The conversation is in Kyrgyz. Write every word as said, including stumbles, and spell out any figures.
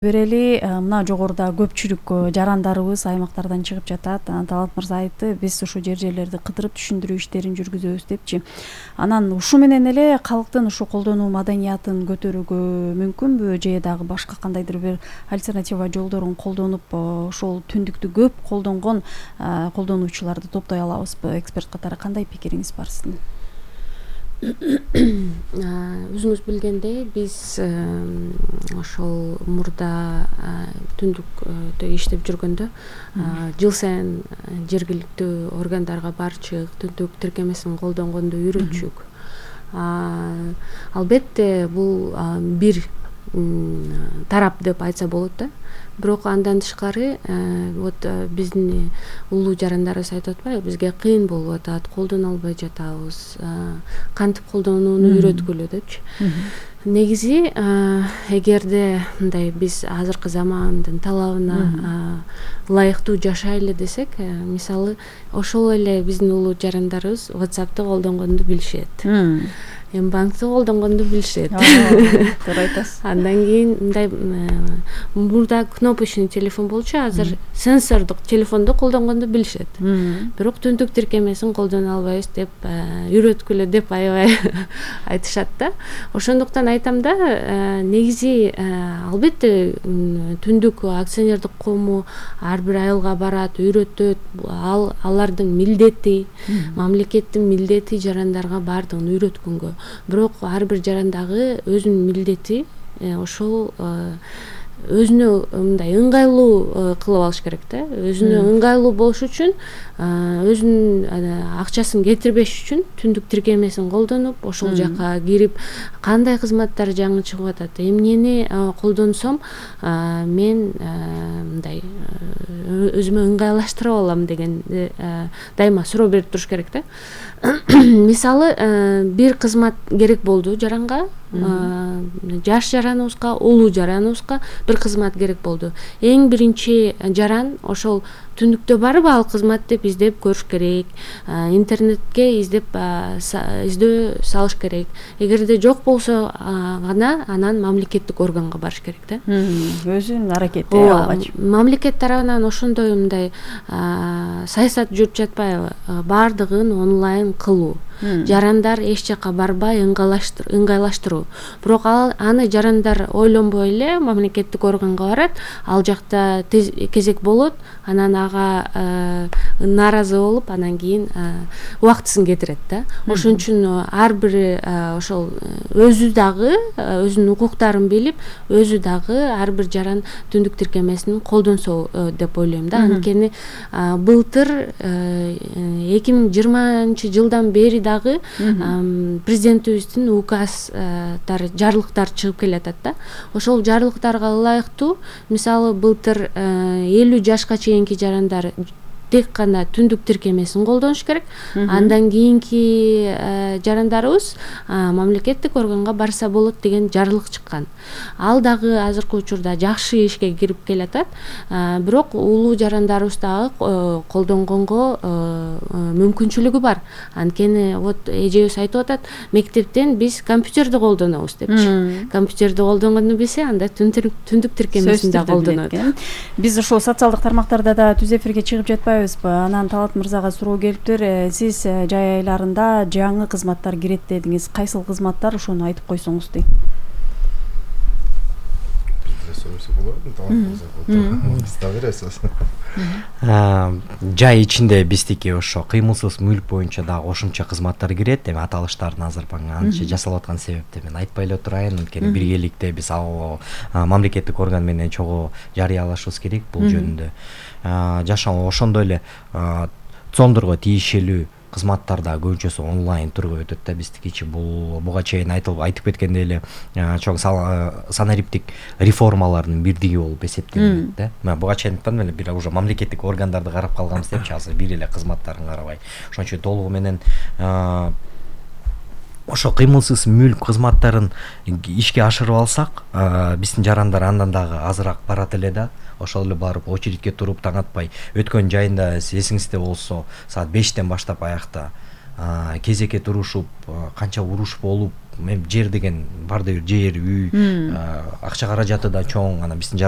Берели мына жогоруда көпчүлүк жарандарыбыз аймактардан чыгып жатат. Талант мырза айтты, биз ушу жер жерлерди кыдырып түшүндүрүү иштерин жүргүзөбүз депчи. Анан ушу менен эле калктын ушу колдонуу маданиятын көтөрүүгө мүмкүнбү, же дагы башка кандайдыр бир альтернатива жолдорун колдонуп ошол түндүктү көп колдонгон колдонуучуларды топтой алабызбы? Эксперт катары кандай пикириңиз бар сиздин? Өзүңүз билгендей, биз ошол мурда түндүктө иштеп жүргөндө жыл сайын жергиликтүү органдарга барчык, түндүк тиркемесин колдонгонду үйрөтчүк. Албетте бул бир тарап деп айтса болот да. Бирок андан тышкары вот биздин улуу жарандарыбыз айтып атпайбы, бизге кыйын болуп атат, колдоно албай жатабыз, кантип колдонууну үйрөткүлө депчи. Негизи эгерде мындай биз азыркы замандын талабына ылайыктуу жашайлы десек, мисалы ошол эле биздин улуу жарандарыбыз WhatsApp'ты колдонгонду билишет. Мбанкты колдонгонду билишет. Туура айтасыз. Андан кийин мындай мурда кнопочный телефон болчу, азыр сенсордук телефонду колдонгонду билишет. Бирок түндүк тиркемесин колдоно албайбыз деп үйрөткүлө деп аябай айтышат да. Ошондуктан айтам да, негизи албетте түндүк акционердик коому ар бир айылга барат, үйрөтөт. Ал алардын милдети, мамлекеттин милдети жарандарга баардыгын үйрөткөнгө. Бирок ар бир жарандагы өзүнүн милдети ошол өзүнө мындай ыңгайлуу кылып алыш керек да. Өзүнө ыңгайлуу болуш үчүн, өзүнүн акчасын кетирбеш үчүн түндүк тиркемесин колдонуп, ошол жака кирип, кандай кызматтар жаңы чыгып атат, эмнени колдонсом мен мындай өзүмө ыңгайлаштырып алам деген дайыма суроо берип туруш керек да. Мисалы, бир кызмат керек болду жаранга, жаш жараныбызга, улуу жараныбызга бир кызмат керек болду. Эң биринчи жаран ошол түндүктө барбы ал кызмат деп издеп көрүш керек, интернетке издеп издөө салыш керек. Эгерде жок болсо гана анан мамлекеттик органга барыш керек да. Өзүнүн аракети алгач. Мамлекет тарабынан ошондой мындай саясат жүрүп жатпайбы? Баардыгын онлайн кылуу. Жарандар эч жака барбай ыңгайлаштыруу. Бирок аны жарандар ойлонбой эле мамлекеттик органга барат, ал жакта кезек болот, анан ага нааразы болуп, анан кийин убактысын кетирет да. Ошон үчүн ар бир ошол өзү дагы өзүнүн укуктарын билип, өзү дагы ар бир жаран түндүк тиркемесин колдонсо деп ойлойм да. Анткени былтыр эки миң жыйырманчы жылдан бери дагы президентибиздин указдары, жарлыктар чыгып келатат да. Ошол жарлыктарга ылайыктуу, мисалы былтыр элүү жашка чейинки жарандар тек гана түндүк тиркемесин колдонуш керек. Андан кийинки жарандарыбыз мамлекеттик органга барса болот деген жарлык чыккан. Ал дагы азыркы учурда жакшы ишке кирип келатат. Бирок улуу жарандарыбыз дагы колдонгонго мүмкүнчүлүгү бар. Анткени вот эжебиз айтып атат, мектептен биз компьютерди колдонобуз депчи. Компьютерди колдонгонду билсе, анда түндүк тиркемесин да колдонот. Биз ошол социалдык тармактарда да түз эфирге чыгып жатпайбыз. Анан Талант мырзага суроо келиптир. Сиз жай айларында жаңы кызматтар кирет дедиңиз. Кайсыл кызматтар, ошону айтып койсоңуз дейт. Жай ичинде биздики ошо кыймылсыз мүлк боюнча дагы кошумча кызматтар кирет. Эми аталыштарын азыр анча жасалып аткан себепти мен айтпай эле турайын. Анткени биргеликте биз мамлекеттик орган менен чогуу жарыялашыбыз керек бул жөнүндө. Жашоо ошондой эле цондорго тиешелүү кызматтар да көбүнчөсү онлайн түргө өтөт да биздикичи. Бул буга чейин айтылып айтып кеткендей эле чоң санариптик реформалардын бирдиги болуп эсептелинет да. Мен буга чейин айткам эле, бир уже мамлекеттик органдарды карап калганбыз депчи, азыр бир эле кызматтарын карабай. Ошон үчүн толугу менен ошо кыймылсыз мүлк кызматтарын ишке ашырып алсак, биздин жарандар андан дагы азыраак барат эле да. Ошол эле барып очередке туруп таң атпай. Өткөн жайында эсиңизде болсо, саат бештен баштап аякта кезекке турушуп, канча уруш болуп, эми жер деген баардыр бир жер үй акча каражаты да чоң, анан биздин